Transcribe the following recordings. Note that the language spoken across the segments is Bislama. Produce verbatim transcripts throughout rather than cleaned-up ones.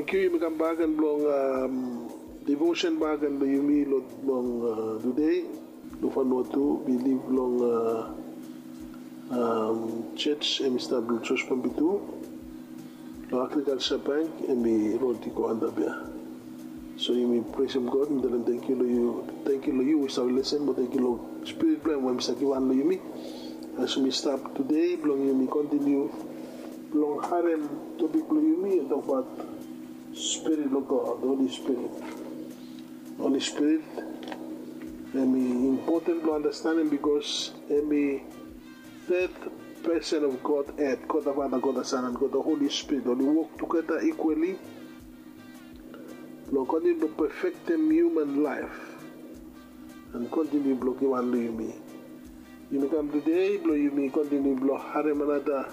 Thank you, yumi kam bak gen blong devotion bak gen blong yumi long tude. Long Vanuatu, mi liv long church em i stap long George Pompidu, long Agriculture Bank, em i rod i go antap ia. So yumi presem God, mi talem tangkiu long yu, tangkiu long yu we yu save lesin, mo tangkiu long Spirit blong em we em i save givhan long yumi. As yumi stap tude blong yumi kontiniu blong harem topik blong yumi, em tokbaot Spirit blong God, Holy Spirit. Holy Spirit em i impoten blong andastanem, bikos em i third person of Godhead, God the Father, God the Son, and God the Holy Spirit. Oli wok tugeta ikwali blong kontiniu blong pefektem hiuman laef and kontiniu blong givhan long yumi. Yumi kam tude blong yumi kontiniu blong harem anata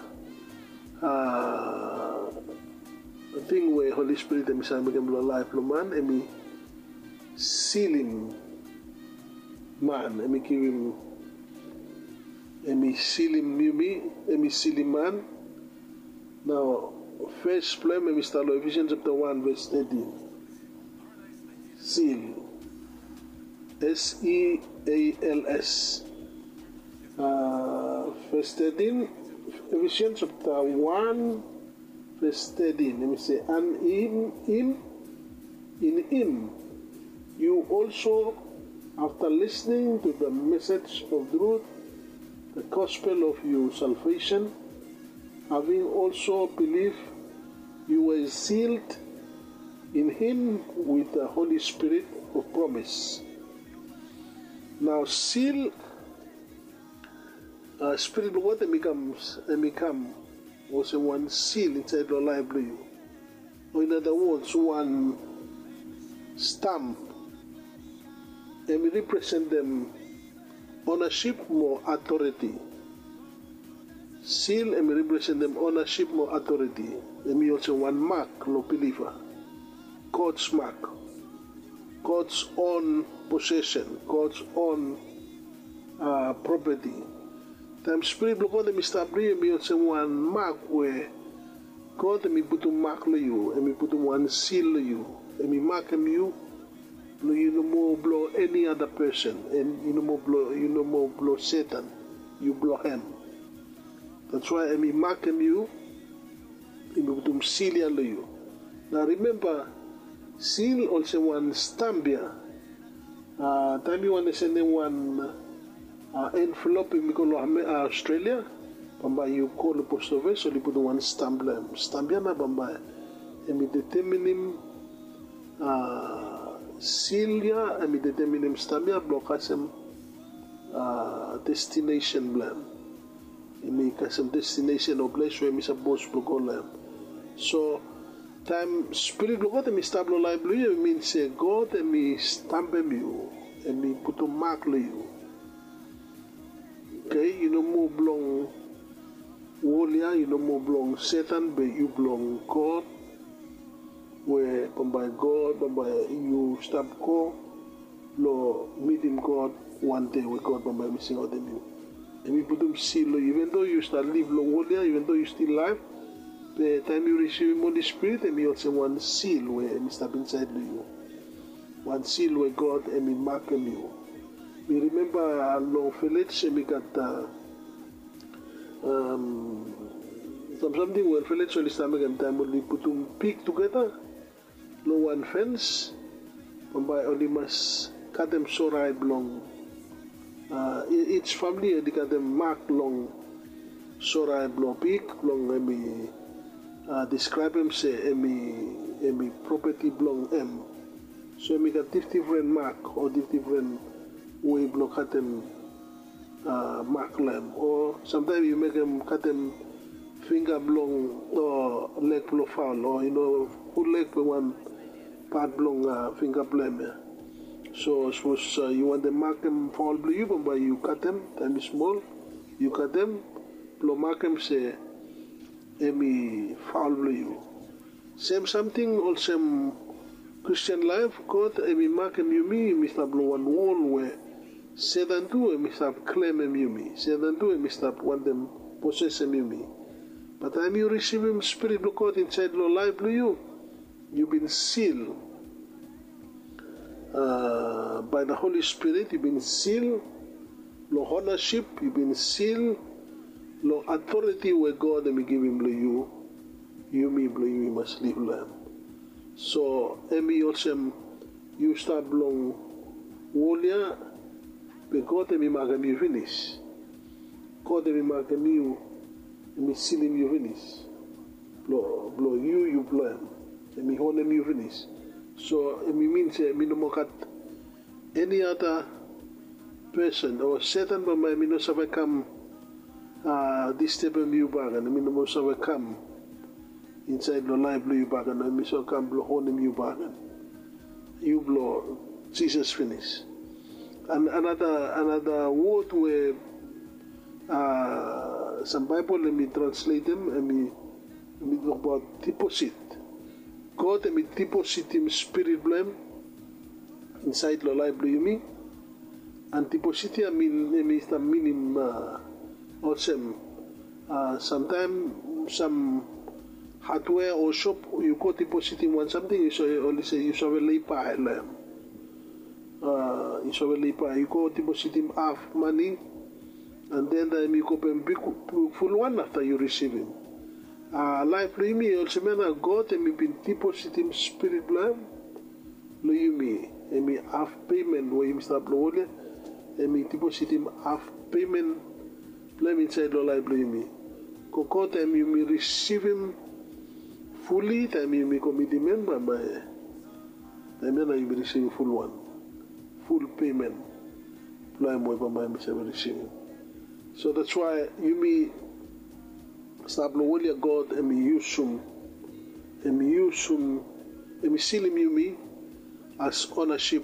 ting we Holy Spirit em i save mekem long laef blong man. Em i silim man, em i givim, em i silim yumi, em i silim man. Nao fes blong em em i stap long Ephesians chapter one verse thirteen. Seal. S E A L S. Verse thirteen, Ephesians chapter one verse thirteen, em i se, and in him, in him you also, after listening to the message of truth, the gospel of your salvation, having also believed, you were sealed in him with the Holy Spirit of promise. Nao seal, Spirit blong God em i kam, em i kam olsem wan seal insaed long laef blong yu. O in other words, wan stamp. Em i representem onasip mo atoriti. Seal em i representem onasip mo atoriti. Em i olsem wan mak long biliva. God's mark, God's own possession, God's own property. Taem Spirit blong God em i stap long yu, em i olsem wan mak we God em i putum mak long yu, em i putum wan seal long yu, em i makem yu blong yu no moa blong eni ada pesen, em yu no moa blong, yu no moa blong Setan, yu blong hem. That's why em i makem yu, em i putum seal ia long yu. Nao rimemba, seal olsem wan stamp ia. Taem yu wantem senem wan envelop, em i go long Australia, bambae yu go long post ofis, oli putum wan stamp long hem. Stamp ia nao bambae em i deteminim, seal ia em i deteminim stamp ia blong kasem destination blong hem. Em i kasem destination o ples we em i sapos blong go long hem. So taem Spirit blong God em i stap long laef blong yu, em i min se God em i stampem yu, em i putum mak long yu. Oke, yu no moa blong wol ia, yu no moa blong Setan, be yu blong God. We bambae God, bambae yu stap go blong mitim God wan dei we God bambae em i singaotem yu. Em i putum seal long yu, even though yu stap liv long wol ia, even though yu stil laef, be taem yu risivim Holy Spirit, em i olsem wan seal we em i stap insaed long yu. Wan seal we God em i makem yu. Mi rimemba long vilej em i gat sam samting we vilej oli stap mekem taem oli putum pig tugeta long wan fens. Bambae oli mas katem sorae blong ij famili, oli katem mak long sorae blong pig blong em i deskraebem se em i propeti blong hem. So em i gat difdifren mak o difdifren wei blong katem mak long hem. O samtaem yu mekem katem fingga blong o leg blong faol, o yu no ful leg be wan pat blong fingga blong hem ia. So sapos yu wantem makem faol blong yu, bambae yu katem, taem i smol yu katem blong makem se em i faol blong yu. Sem samting olsem Kristian laef, God em i makem yumi, yumi stap long wan wol we Setan tu em i stap klemem yumi. Setan tu em i stap wantem posesem yumi. Be taem yu risivim Spirit blong God insaed long laef blong yu, yu bin sil, a, by the Holy Spirit yu bin sil long onasip, yu bin sil long atoreti we God hem i givim long yu, yumi blong yu i mas liv long hem. So hem i olsem yu stap long wol ya, be God hem i makem yu finis. God hem i makem yu, hem i silim yu finis. Blong yu, yu blong hem. Hem i onem yu finis. So hem i min se hem i no moa gat eni ada pesen o Setan bambae hem i no save kam distebem yu bakegen, hem i no moa save kam insaed long laef blong yu bakegen, hem i save kam blong onem yu bakegen. Yu blong Jisas finis. Anada, anada wod we a, sam Baebol hem i transletem, hem i, hem i tokbaot diposit. God hem i dipositim Spirit blong hem insaed long laef blong yumi. And diposit ya min, hem i stap minim, a, olsem, a, samtaem sam hadwea o sop yu go dipositim wan samting, yu save, oli se yu save lei bae long hem. A, yu save lei bae, yu go dipositim haf mane, and then taem yu go peim bigful wan afta yu risivim. A, laef blong yumi olsem ya nao, God hem i bin dipositim Spirit blong hem long yumi. Hem i haf pemen we yumi stap long wol ya, hem i dipositim haf pemen blong hem insaed long laef blong yumi. Gogo taem yumi risivim fuli, taem yumi komitim hem, bambae taem ya nao yumi risivim fulwan, ful pemen blong hem we bambae yumi save risivim. So that's why yumi stap long wol ya, God hem i yusum, hem i yusum, hem i silim yumi as onasip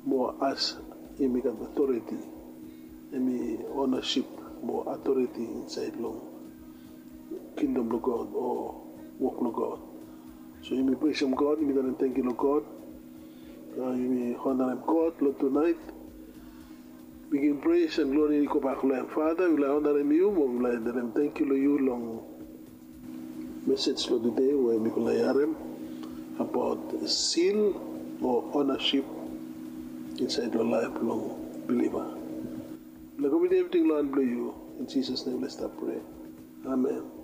mo as yumi gat atoreti. Hem i onasip mo atoreti insaed long kingdom blong God o wok blong God. So yumi presem God, yumi talem tangkiu long God. A, yumi onarem God long tunaet. Bigin pres and glori i gobak long hem. Fata, mifala i onarem yu mo mifala i talem tangkiu long yu long mesej blong tude we mifala i harem abaot sil o onasip insaed long laef blong biliva. Mifala i komitim evriting long han blong yu. In Jisas nem mifala i stap prea. Amen.